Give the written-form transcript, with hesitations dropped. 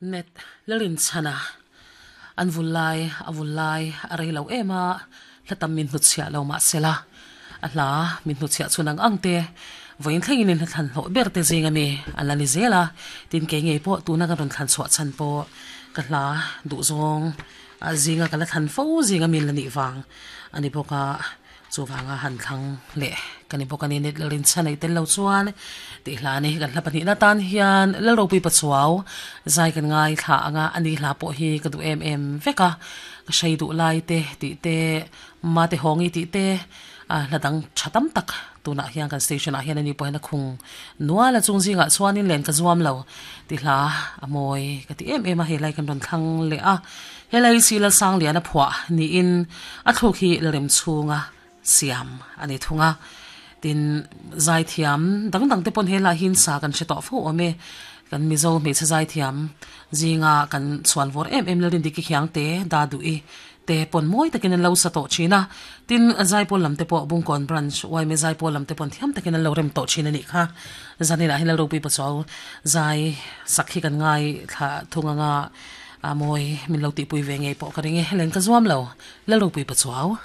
Net Lalinchhana an vul lai a vul lai a rei lo em a, hla tam min hnutchhiah lo mah sela a hla min hnutchhiah chhun ang ang te vawiin thlengin in hla thlan hlawh ber te zing ami an la ni zel a, tin kei ngei pawh tuna ka rawn thlan chhuah chhan pawh ka hla duhzawng a zinga ka la thlan fo zing ami la nih vang a ni bawk a. Chuvanga han thlang leh ka ni bawk a ni. Net Lalrinchhan ei tel lo chuan tih hla a ni. Kan hla pahnihna tan hian Lalropui Pachuau zai kan ngai thla ang a, ani hla pawh hi ka duh em em vek a. Ka hrei duh lai te tih te, Mate Hawngi tih te, a hla dang tha tam tak tunah hian kan station ah hian ani pawh hian a khung nual a. Chung zingah chuanin len ka zuam lo tih hla a mawi ka ti em em a, helai kan rawn thlang leh a. Helai hi Lalsangliana phuah niin a thluk hi Lalrem chhunga siam a ni thung a. Tin, zaithiam dang dang te pawn helai hi sa kan hre tawh fo awm e. Kan Mizo hmeichhe zaithiam zinga kan chhuan vawr em em Lalrindiki Khiangte, Daduhi te pawn mawi takin an lo sa tawh thin a. Tin, Zaipawl lam te pawh Bungkawn Branch yma Zaipawl lam te pawn thiam takin an lo rem tawh thin a nih kha. Zaninah hian Lalropui Pachuau zai sak hi kan ngaithla thung anga. A mawi, min lo tihpui ve ngei pawh ka ring e, helen ka zuam lo, Lalropui Pachuau.